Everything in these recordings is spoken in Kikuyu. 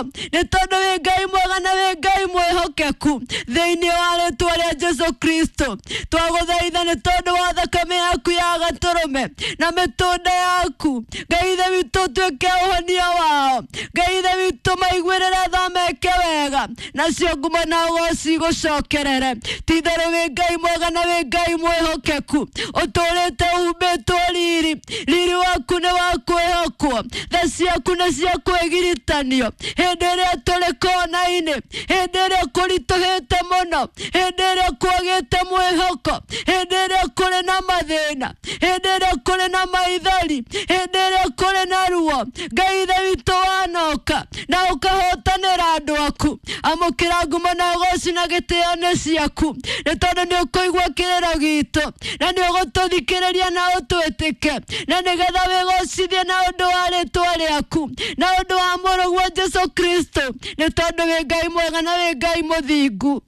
Nĩ tondũ wĩ Ngai mwega na wĩ Ngai mwĩhokeku. Thĩinĩ wa rĩtwa rĩa Jesu Kristo twagũthaitha, nĩ tondũ wa thakame yaku ya gatũrũme na mĩtũnda yaku, Ngai Ithe witũ, ũtuĩke ũhonia wao. Ngai Ithe witũ, maiguĩrĩre tha, meke wega, nacio ngumo na ũgoci gũcokerere. Ti-itherũ wĩ Ngai mwega na wĩ Ngai mwĩhokeku, ũtũũrĩte umbĩtwo riri. Riri waku nĩ wa kwĩhokwo, tha ciaku nĩ cia kwĩgiritanio. Hĩndĩ ĩrĩa tũrĩ kona-inĩ, hĩndĩ ĩrĩa kũritũhĩte mũno, hĩndĩ ĩrĩa kwagĩte mwĩhoko, hĩndĩ ĩrĩa kũrĩ na mathĩna, hĩndĩ ĩrĩa kũrĩ na maithori, hĩndĩ ĩrĩa kũrĩ na ruo, Ngai Ithe witũ, wanoka na ũkahotanĩra andũ aku. Amũkĩra ngumo na ũgoci na gĩtĩo nĩ ciaku, nĩ tondũ nĩ ũkũigua kĩrĩro gitũ na nĩ ũgũtũthikĩrĩria na ũtwĩtĩke, na nĩgetha wĩgocithie na ũndũ wa rĩtwa rĩaku na ũndũ wa mũrũguo Jesu Kristo, nĩ tondũ wĩ Ngai mwega na wĩ Ngai mũthingu,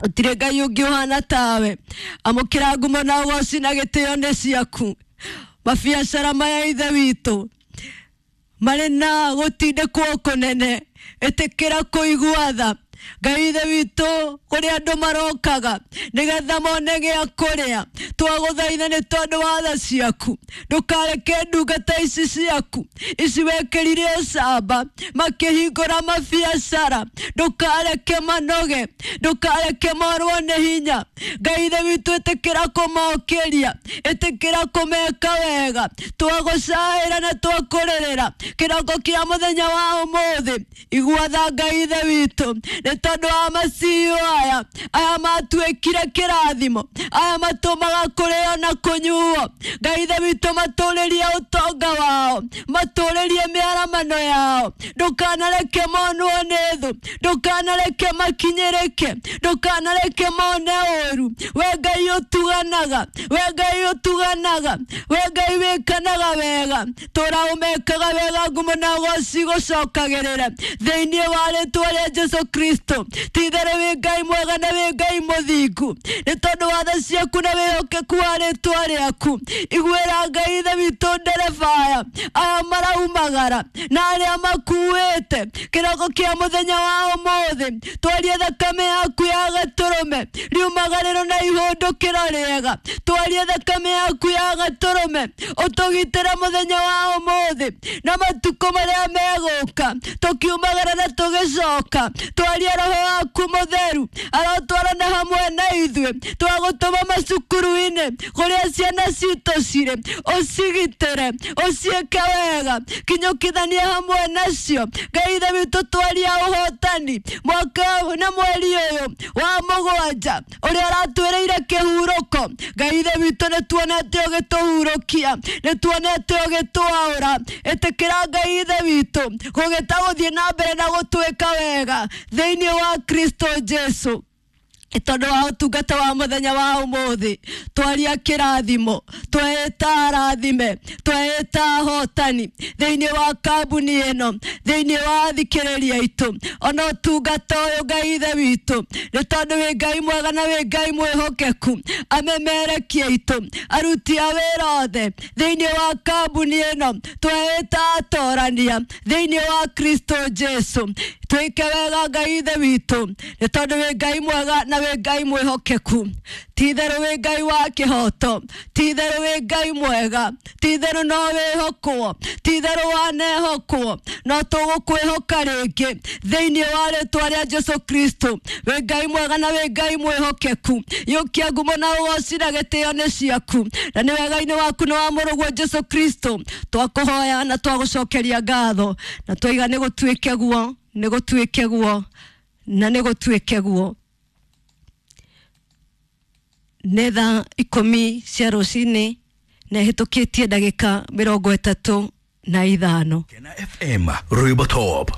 gũtirĩ Ngai ũngĩ ũhana tawe. Amũkĩra ngumo na ũgoci na gĩtĩo nĩ ciaku. Mabiacara maya, Ithe witũ, marĩ na gũtindĩkwo kũnene, ĩtĩkĩra kũigua tha, Ngai Ithe witũ, kũrĩ andũ marokaga nĩgetha mone gĩa kũrĩa. Twagũthaitha nĩ tondũ wa tha ciaku, ndũkareke ndungata ici ciaku ici wekĩrire ũcamba makĩhingũra mabiacara, ndũkareke manoge, ndũkareke morwo nĩ hinya. Ngai Ithe witũ, ĩtĩkĩra kũmokĩria, ĩtĩkĩra kũmeka wega. Twagũcaĩra na twakũrĩrĩra kĩroko kĩa mũthenya wa ũmũthĩ. Igua tha, Ngai Ithe witũ, nĩ tondũ wa maciũ aya, aya matuĩkire kĩrathimo, aya matũmaga kũrĩo na kũnyuo. Ngai Ithe witũ, matũrĩrie ũtonga wao, matũrĩrie mĩaramano yao. Ndũkanareke monwo nĩ thũ, ndũkanareke makinyĩrĩke, ndũkanareke mone ũru. We Ngai ũtuganaga, we Ngai ũtuganaga, we Ngai wĩkanaga wega, tũra ũmekaga wega. Ngumo na ũgoci gũcokagĩrĩra thĩinĩ wa rĩtwa rĩa Jesu Kristo. Ti-itherũ wĩ Ngai mwega na wĩ Ngai mũthingu, nĩ tondũ wa tha ciaku na wĩhokeku wa rĩtwa rĩaku. Iguĩra, Ngai Ithe witũ, ndereba aya, aya maraumagara na arĩa makuĩte kĩroko kĩa mũthenya wa ũmũthĩ. Twarie thakame yaku ya gatũrũme riumagarĩro na ihũndũkĩro rĩega. Twarie thakame yaku ya gatũrũme ũtũgitĩre mũthenya wa ũmũthĩ na matukũ marĩa megũka, tũkiumagara na tũgĩcoka. Twarie roho waku mũtheru arotwarana hamwe na ithuĩ. Twagũtũma macukuru-inĩ kũrĩa ciana citũ cirĩ, ũcigitĩre, ũciĩke wega, kinyũkithanie hamwe nacio. Ngai Ithe witũ, twaria ũhotani mwaka na mweri ũyũ wa mũgwanja ũrĩa ũratwĩrĩire kĩhurũko. Ngai Ithe witũ, nĩ tuonete ũgĩtũhurũkia, nĩ tuonete ũgĩtwaũra. Ĩtĩkĩra, Ngai Ithe witũ, gũgĩta gũthiĩ na mbere na gũtwĩka wega thĩinĩ wa Kristo Jesu. Tondũ wa ũtungata wa mũthenya wa ũmũthĩ, twaria kĩrathimo, tweĩta arathime, tweĩta ahotani thĩinĩ wa kambuni ĩno, thĩinĩ wa athikĩrĩria aitũ, ona ũtungata ũyũ. Ngai Ithe witũ, nĩ tondũ wĩ Ngai mwega na wĩ Ngai mwĩhokeku, amemerekia aitũ, aruti a wĩra othe thĩinĩ wa kambuni ĩno, tweĩta atorania thĩinĩ wa Kristo Jesu. Twĩke wega, Ngai Ithe witũ, nĩ tondũ wĩ Ngai mwega na wĩ Ngai mwĩhokeku. Ti-itherũ wĩ Ngai wa kĩhoto, ti-itherũ wĩ Ngai mwega, ti-itherũ no wĩhokwo, ti-itherũ wanehokwo, no tũgũkwĩhoka rĩngĩ thĩinĩ wa rĩtwa rĩa Jesu Kristo. Wĩ Ngai mwega na wĩ Ngai mwĩhokeku. Yũkia ngumo na ũgoci na gĩtĩo nĩ ciaku, na nĩ wega-inĩ waku na wa mũrũguo Jesu Kristo twakũhoya na twagũcokeria ngatho na twaiga nĩ gũtuĩke guo, nĩ gũtuĩke guo, na nĩ gũtuĩke guo. Nĩ thaa 10 cia rũcinĩ na ĩhĩtũkĩtie ndagĩka 35. Kena FM, Rwimbo Top.